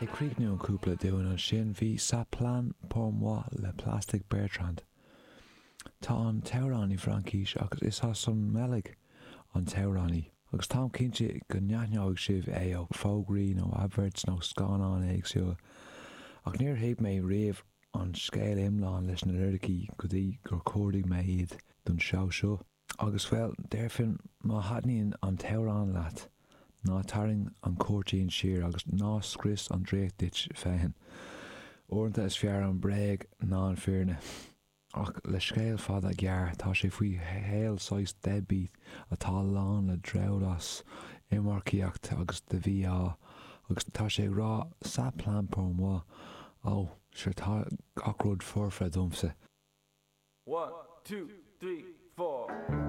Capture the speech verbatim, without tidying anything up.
Ag críochnú an cúpla dúinn ansin bhí Ça plane pour moi le Plastic Bertrand. Tá an t-amhránaí Fraincis agus is as an mBeilg an t-amhránaí. Agus táim cinnte go n-aithneoidh sibh é ó fógraí nó adverts nó scannáin éagsúla. Ach níor thuig mé riamh an scéal iomlán leis na liricí go dtí gur chuardaigh mé iad don seó seo. Agus bhuel, déarfainn má thaitníonn an t-amhrán leat, ná tarraing an cúirtín siar agus ná scrios an draíocht duit féin. Uaireanta is fearr an bhréag ná an fhírinne. Ach le scéal fada gearr tá sé faoi shaol saghas deadbeat atá lán le drabhlás, iomarcaíocht agus de mhí-ádh, agus tá sé ag rá ça plane pour moi, ó, sure tá gach rud foirfe domsa. One, two, three, four.